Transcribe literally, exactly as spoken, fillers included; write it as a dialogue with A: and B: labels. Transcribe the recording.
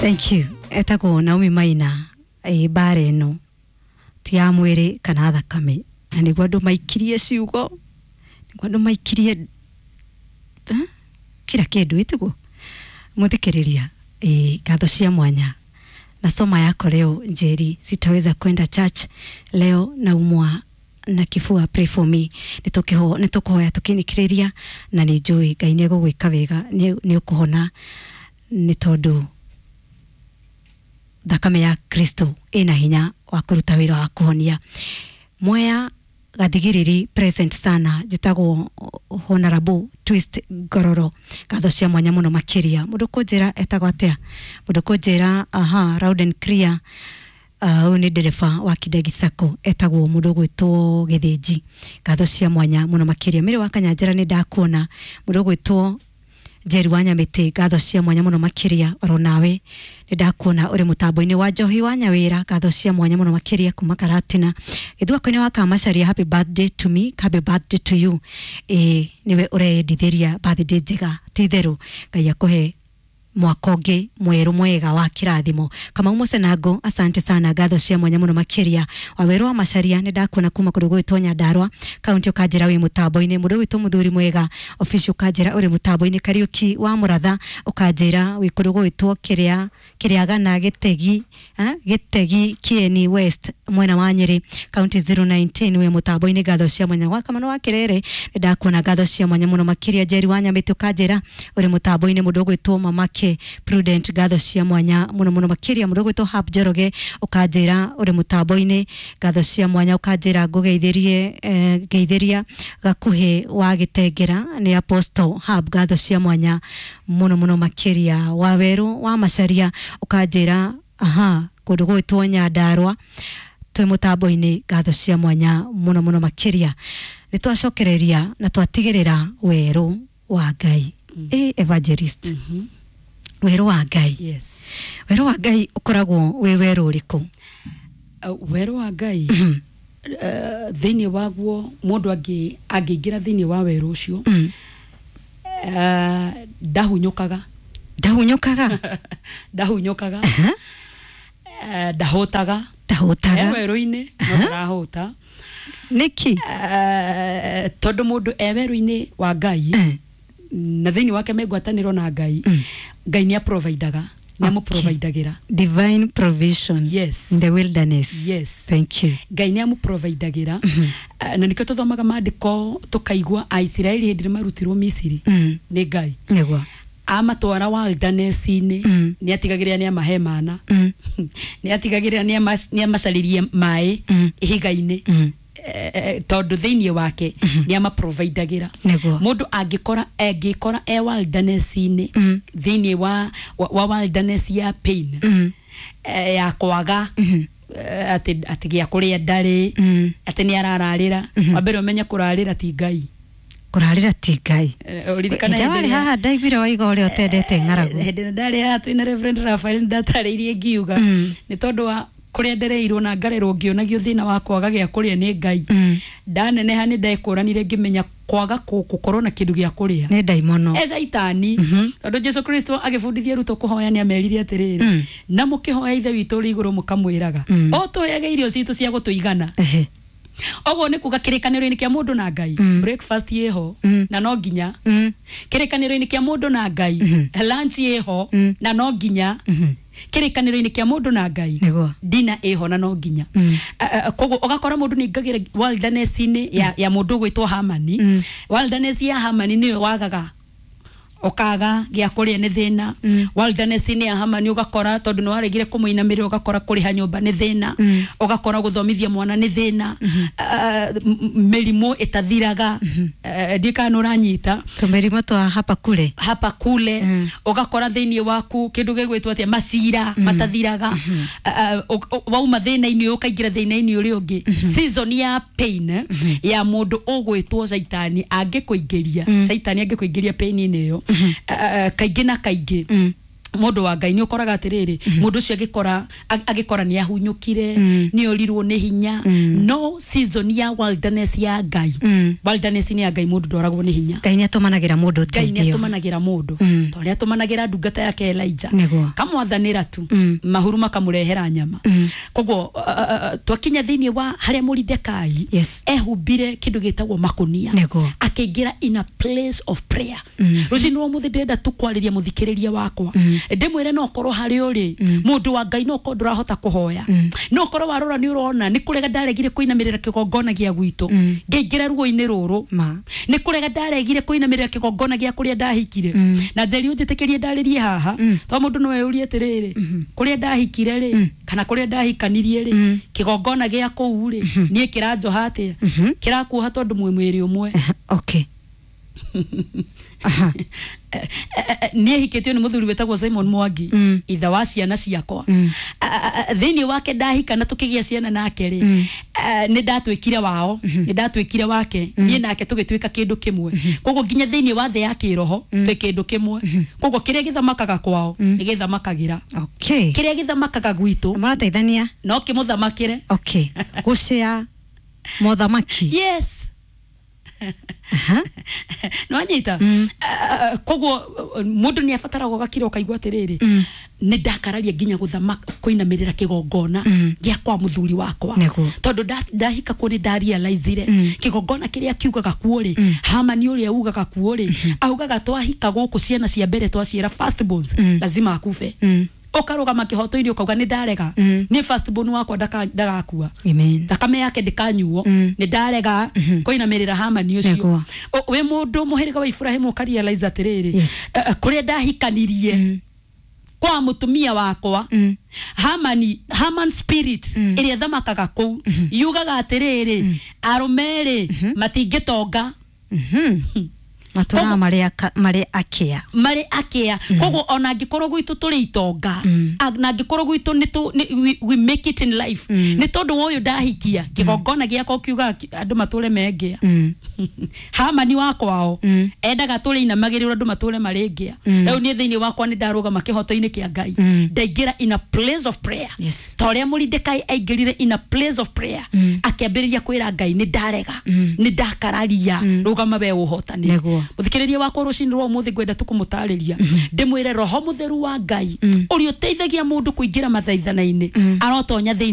A: Thank you. Etagwo Naomi Maina. Ĩ mbara ĩno ti ya mwĩrĩ kana thakame, na nĩguo andũ maikirie ciugo, nĩguo andũ maikirie eh? Kila kĩndũ ĩtiguo mũthikĩrĩria. Ĩ ngatho cia mwanya na soma yako leo. Njeri, sitaweza kwenda church leo, naumwa na kifua, pray for me. Nĩtũkĩho nĩtũkũhoya tũkĩnĩkĩrĩria, na nĩ njũĩ Ngai nĩ egũgwĩka wega, nĩ nĩ ũkũhona, nĩ tondũ thakame ya Kristo ĩna hinya wa kũruta wĩra wa kũhonia. Mwea gathigiriri present sana. Njĩtagwo Honorable Twist Ngororo, ngatho cia mwanya mũno makĩria. Mũndũ kũnjĩra etagwo atĩa? Mũndũ kũnjĩra, aha, loud and clear. Ũyũ nĩ ndereba wa Kindegi Sacco, etagwo mũndũ ũgwĩtwo Gĩthĩnji, ngatho cia mwanya mũno makĩria. Mĩrĩ wa Kanyanjara, nĩ ndakuona. Mũndũ ũgwĩtwo Njeri wa Nyamĩtĩ, ngatho cia mwanya mũno makĩria. Oro nawe nĩ ndakuona ũrĩ mũtambo-inĩ wa Njohi wa Nyawĩra, ngatho cia mwanya mũno makĩria kuma Karatina Gĩthwako-inĩ wa Kamacaria. Happy birthday to me. Happy birthday to you. Ĩ nĩwe ũreyendithĩria birthday njega, ti itherũ Ngai akũhe mwaka ũngĩ mwerũ mwega wa kĩrathimo. Kamau Mũcenango, asante sana, ngatho cia mwanya mũno makĩria. Wawerũ wa Macaria, nĩ ndakuona kuma kũndũ gwĩtwo Nyandarua kaunti, ũkanjĩra wĩ mũtambo-inĩ. Mũndũ gwĩtwo mũthuri mwega official, ũkanjĩra ũrĩ mũtambo-inĩ. Kariũki wa Mũratha, ũkanjĩra wĩ kũndũ gwĩtwo kĩrĩa Kĩrĩagana Gĩtegi, eh? Gĩtegi Kieni West, mwena wa Nyĩrĩ kaunti zero nineteen, wĩ mũtambo-inĩ, ngatho cia mwanya. Gwa Kamano wa Kĩrere, nĩ ndakuona, ngatho cia mwanya mũno makĩria. Njeri wa Nyamĩtĩ, ũkanjĩra ũrĩ mũtambo-inĩ. Mũndũ ũgwĩtwo Mamake Prudent, ngatho cia mwanya mũno mũno makĩria. Mũndũ ũgwĩtwo Hab Njoroge, ũkanjĩra ũrĩ mũtambo-inĩ, ngatho cia mwanya. Ũkanjĩra ngũgeithĩrie, eh, ngeithĩria gakuhĩ wa Gĩtengera nĩ Apostle Hab, ngatho cia mwanya mũno mũno makĩria. Wawerũ wa Macaria, ũkanjĩra aha kũndũ gwĩtwo Nyandarua twĩ mũtambo-inĩ, ngatho cia mwanya mũno mũno makĩria. Nĩ twacokereria na twatigĩrĩra werũ wa Ngai. mm. Ĩ evangelist, mm -hmm. werũ wa Ngai.
B: Yes.
A: Werũ wa Ngai ũkoragwo wĩ werũ ũrĩkũ?
B: Uh, werũ wa Ngai, uh, thĩinĩ waguo mũndũ angĩ angĩingĩra thĩinĩ wa werũ ũcio,
A: mm.
B: uh, ndahunyũkaga.
A: Ndahunyũkaga.
B: Ndahunyũkaga, uh, ndahũtaga. E
A: Ndahũtaga.
B: Werũ-inĩ no ndarahũta.
A: Nĩkĩ?
B: Uh, tondũ mũndũ e werũ-inĩ wa Ngai
A: Eh.
B: na thĩinĩ wake me ngwatanĩro na Ngai,
A: Mm.
B: Ngai nĩ aprovidaga, nĩ amũprovidagĩra.
A: Divine provision
B: Yes.
A: in the wilderness.
B: Yes.
A: Thank you.
B: Ngai nĩ amũprovidagĩra. uh, na nĩkĩo tũthomaga maandĩko tũkaigua Aisiraeli hĩndĩ ĩrĩa marutirwo Misiri
A: Mm.
B: nĩ Ngai,
A: nĩguo
B: amatwara wilderness-inĩ,
A: Mm.
B: nĩ atigagĩrĩra nĩ amahe mana,
A: Mm.
B: nĩ atigagĩrĩra nĩ ama- nĩ amacarĩrie maĩ
A: Mm.
B: ihiga-inĩ,
A: Mm.
B: eh, tondũ thĩinĩ wake nĩ amaprovidagĩra.
A: Nĩguo.
B: Mũndũ angĩkora angĩkora e wilderness-inĩ,
A: Mm.
B: thĩinĩ wa, wa, wa wilderness ya pain,
A: Mm.
B: eh, ya kwaga,
A: Mhm.
B: eh, atĩ atĩ gĩa kũrĩa ndarĩ,
A: Mm.
B: atĩ nĩ arararĩra. Wa mbere ũmenye kũrarĩra ti Ngai.
A: Kũrarĩra ti Ngai.
B: Eh, ũririkana
A: Hĩndĩ
B: hĩndĩ
A: warĩ
B: ĩrĩa-
A: haha ndaiguire waiga ũrĩa ũtendete ng'aragu.
B: Hĩndĩ ĩrĩa ndarĩ haha twĩna Reverend Raphael, ndatarĩirie ngiuga
A: Mm.
B: nĩ tondũ wa kũrĩa ndereirwo na ngarerwo ngĩonagio thĩna wa kwaga gĩa kũrĩa nĩ Ngai,
A: Mm.
B: ndaneneha nĩ ndekũranire ngĩmenya kwaga kũ- gũkorwo na kĩndũ gĩa kũrĩa
A: nĩ ndaimono.
B: E caitani,
A: Mhm.
B: tondũ Jesu Kristo agĩbundithia arutwo kũhoya nĩ amerire atĩrĩrĩ,
A: Mm.
B: na mũkĩhoya Ithe witũ ũrĩ igũrũ, mũkamwĩraga
A: Mm.
B: o tũheage irio citũ cia gũtũigana.
A: Ehe.
B: Ũguo nĩ kuga kĩrĩkanĩro-inĩ kĩa mũndũ na Ngai,
A: Mm.
B: breakfast ĩho
A: Mm.
B: na no nginya.
A: Mm.
B: Kĩrĩkanĩro-inĩ kĩa mũndũ na Ngai,
A: Mhm.
B: lunch ĩho
A: Mm.
B: na no nginya.
A: Mhm.
B: Kĩrĩkanĩro-inĩ kĩa mũndũ na Ngai,
A: Nĩguo.
B: dina ĩho na no nginya.
A: Mm.
B: Eh, eh, koguo ũgakora mũndũ nĩ aingagĩra wilderness-inĩ ya, ya mũndũ ũgwĩtwo Hamani.
A: Mm.
B: Wilderness ya Hamani nĩyo wagaga, ũkaga gĩa kũrĩa nĩ thĩna.
A: Mm.
B: Wilderness-inĩ ya Hamani ũgakora tondũ nĩ waregire kũmũinamĩrĩra, ũgakora kũrĩha nyũmba nĩ thĩna,
A: Mm.
B: ũgakora gũthomithia mwana nĩ thĩna, Eh, m- mĩrimũ ĩtathiraga. Eh, ndiũĩ kana nĩ ũranyita.
A: Tũmĩrimũ twa hapa kule.
B: Hapa kule.
A: Mm.
B: Ũgakora thĩinĩ waku kĩndũ gĩgwĩtwo atĩa, macira matathiraga. Eh, eh, ũ- ũ- wauma thĩna-inĩ ũyũ ũkaingĩra thĩna-inĩ ũrĩa ũngĩ. Season ya pain ya mũndũ ũgwĩtwo caitani angĩkũingĩria,
A: Mm.
B: caitani angĩkũingĩria pain-inĩ ĩyo, eh, eh, kaingĩ na kaingĩ
A: Mm.
B: Mũndũ wa Ngai, nĩ ũkoraga atĩrĩrĩ, mũndũ ũcio agĩkora agĩkora nĩ ahunyũkire, nĩ orirwo nĩ hinya. No season ya wilderness ya Ngai, wilderness nĩ ya Ngai, mũndũ ndoragwo nĩ hinya.
A: Ngai nĩ atũmanagĩra mũndũ
B: Ngai nĩ
A: ũteithio.
B: Atũmanagĩra mũndũ
A: Mm.
B: ta ũrĩa atũmanagĩra ndungata yake Elijah.
A: Nĩguo.
B: Kamwathanĩra tu,
A: Mm.
B: mahuru makamũrehera nyama.
A: Mm.
B: Koguo uh, uh, twakinya thĩinĩ wa harĩa Moridekai
A: Yes.
B: ehumbire kĩndũ gĩtagwo makunia,
A: Nĩguo.
B: akĩingĩra in a place of prayer.
A: Mm.
B: Rũcinĩ rwa mũthĩ ndĩrenda tu kwarĩria mũthikĩrĩria wakwa, ndĩmwĩre no korwo harĩ ũrĩ mũndũ wa Ngai, no korwo ndũrahota kũhoya, no korwo warora nĩ ũrona nĩ kũrega ndaregire kũinamĩrĩra kĩgongona gĩa gwitũ ngĩingĩra ruo-inĩ rũrũ,
A: Ma.
B: nĩ kũrega ndaregire kũinamĩrĩra kĩgongona gĩa kũrĩa ndahikire. Na njeri, ũnjĩtĩkĩrie ndarĩrie haha, to mũndũ no eyũrie atĩrĩrĩ, kũrĩa ndahikire rĩ, kana kũrĩa ndahikanirie rĩ, kĩgongona gĩa kũu rĩ, niĩ kĩranjoha atĩa? Kĩrakuoha tondũ mwĩ mwĩrĩ ũmwe.
A: Okay. Aha.
B: Niĩ hikĩtio nĩ mũthuri wĩtagwo Simon Mwangi,
A: Mm.
B: ithe wa ciana ciakwa.
A: Mm.
B: A- a- a- thĩinĩ wake ndahika na tũkĩgĩa ciana nake rĩ, eh, nĩ ndatuĩkire wao, nĩ ndatuĩkire wake, niĩ nake tũgĩtuĩka kĩndũ kĩmwe. Koguo nginya thĩinĩ wa thĩ ya kĩroho twĩ kĩndũ kĩmwe. Koguo kĩrĩa gĩthamakaga kwao nĩ gĩthamakagĩra,
A: Okay.
B: kĩrĩa gĩthamakaga gwitũ
A: Marateithania.
B: no kĩmũthamakĩre.
A: Okay. Gũcĩa mothamaki.
B: Yes.
A: Aha.
B: Nĩwanyita?
A: Mm.
B: Ah, koguo uh, mũndũ nĩ abataraga ũgakira ũkaigua atĩrĩrĩ,
A: Mm.
B: nĩ ndakararia nginya gũthamaka kũinamĩrĩra kĩgongona
A: Mm.
B: gĩa kwa mũthuri wakwa,
A: Nĩguo.
B: tondũ nda- ndahika kuo nĩ ndarealizire
A: Mm.
B: kĩgongona kĩrĩa kiugaga kuo rĩ, Hamani ũrĩa ugaga kuo rĩ, augaga twahika gũkũ ciana cia mbere twaciĩra firstborns
A: Mm.
B: lazima akufe.
A: Mm.
B: Ũkarũgama kĩhoto-inĩ ũkauga nĩ ndarega,
A: Mm.
B: nĩ firstborn wakwa ndaka- ndagakua,
A: Amen.
B: thakame yake ndĩkanyuo.
A: Mm.
B: Nĩ ndarega kũinamĩrĩra Hamani ũcio.
A: Nĩguo.
B: O- wĩ mũndũ mũhĩrĩga wa Iburahĩmu, ũkarealize atĩrĩrĩ,
A: Yes.
B: eh, eh, kũrĩa ndahikanirie
A: Mm.
B: kwa mũtumia wakwa,
A: Mm.
B: Hamani, Haman spirit ĩrĩa ĩthamakaga kũu yugaga atĩrĩrĩ, arũme rĩ matingĩtonga.
A: Mhm. Matũraga marĩ aka- marĩ akĩa.
B: Marĩ akĩa. Koguo ona angĩkorwo gwitũ tũrĩ itonga,
A: Mm.
B: a- na angĩkorwo gwitũ nĩ tũ- nĩ- we, we make it in life, nĩ tondũ wa ũyũ ndahikia, kĩgongona gĩakwa kiugaga ki- andũ matũre mengĩa.
A: Mm.
B: Hamani wa kwao
A: Mm.
B: endaga tũrĩ inamagĩrĩrwo andũ matũre marĩ ngĩa.
A: Mm.
B: Rĩu niĩ thĩinĩ wakwa nĩ ndarũgama kĩhoto-inĩ kĩa Ngai,
A: Mm.
B: ndaingĩra in a place of prayer,
A: Yes.
B: ta ũrĩa Mũridekai aingĩrire in a place of prayer,
A: Mm.
B: akĩambĩrĩria kwĩra Ngai, nĩ ndarega,
A: Mm.
B: nĩ ndakararia, rũgama we ũhotani.
A: Nĩguo.
B: Mũthikĩrĩria wakwa, rũcinĩ rwa ũmũthĩ ngwenda tũkũmũtarĩria, ndĩmwĩre roho mũtheru wa Ngai
A: Mm.
B: ũrĩa ũteithagia mũndũ kũingĩra mathaithana-inĩ
A: Mm.
B: arotonya thĩinĩ.